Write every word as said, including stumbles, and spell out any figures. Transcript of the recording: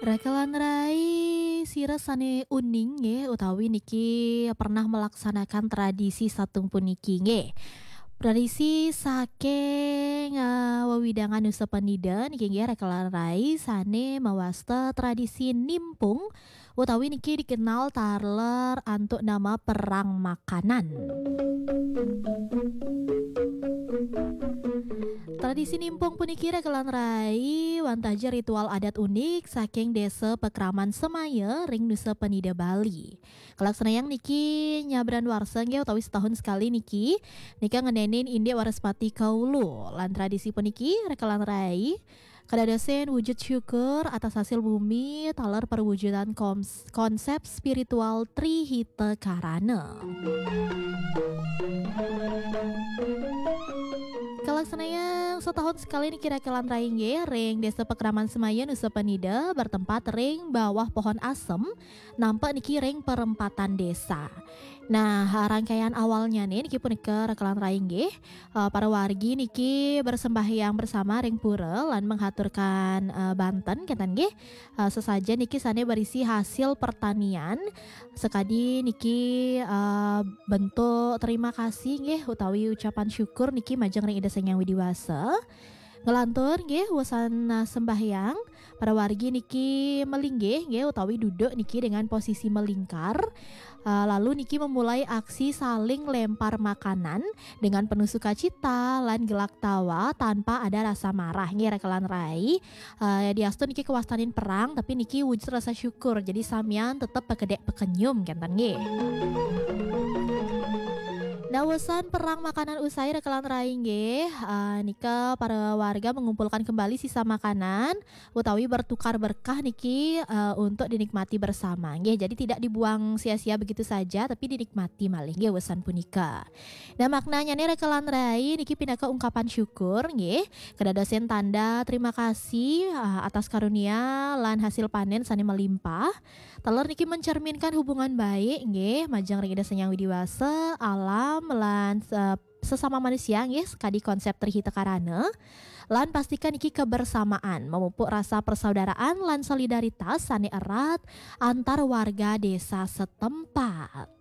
Raka lan rai, sira sane uning nggih utawi niki pernah melaksanakan tradisi satung puniki nggih. Tradisi saking, eh, wewidangan Nusa Penida niki nggih raka lan rai sane mawasta tradisi nimpung utawi niki dikenal taler antuk nama perang makanan. Tradisi nimpung puniki raka lan rai wantah ja ritual adat unik saking Desa Pakraman Semaya ring Nusa Penida Bali. Kalaksanayang niki nyabran warsa nggih utawi setahun sekali niki. Nika ngenenin indik Waraspati Kaulu. Lan tradisi puniki raka lan rai kadadosen wujud syukur atas hasil bumi taler perwujudan koms-, konsep spiritual Tri Hita Karana. Kalaksanayang setahun sekali niki raka lan rai nggih ring Desa Pakraman Semaya Nusa Penida bertempat ring bawah pohon asem nampak niki ring perempatan desa. Nah, rangkaian awalnya nih niki punika raka lan rai nggih. Eh, para wargi niki bersembahyang bersama ring pura lan menghaturkan, eh, banten kenten nggih. Eh, sesajen niki sane berisi hasil pertanian. Sekadi niki, eh, bentuk terima kasih nggih utawi ucapan syukur niki majeng ring Ida Sang Hyang Widi Wasa. Ngelantur nggih wusan, eh, sembahyang, para wargi niki melinggih nggih utawi duduk niki dengan posisi melingkar. Eh, lalu niki memulai aksi saling lempar makanan dengan penuh sukacita lan gelak tawa tanpa ada rasa marah nggih raka lan rai. Eh, diastu niki kawastanin perang tapi niki wujud rasa syukur. Jadi samian tetep pekedek pekenyum kenten nggih. Nah, wusan perang makanan usai raka lan rai nggih, eh, nika para warga mengumpulkan kembali sisa makanan utawi bertukar berkah niki, eh, untuk dinikmati bersama nggih. Jadi tidak dibuang sia-sia begitu saja tapi dinikmati malih nggih wusan punika. Nah, maknanya nih raka lan rai niki pinaka ungkapan syukur nggih. Kadadosen tanda terima kasih, eh, atas karunia lan hasil panen sane melimpah. Taler niki mencerminkan hubungan baik nggih majeng ring Ida Sang Hyang Widi Wasa, alam lan se-, sesama manusia nggih sekadi konsep Tri Hita Karana. Lan pastikan niki kebersamaan, memupuk rasa persaudaraan lan solidaritas sane erat antar warga desa setempat.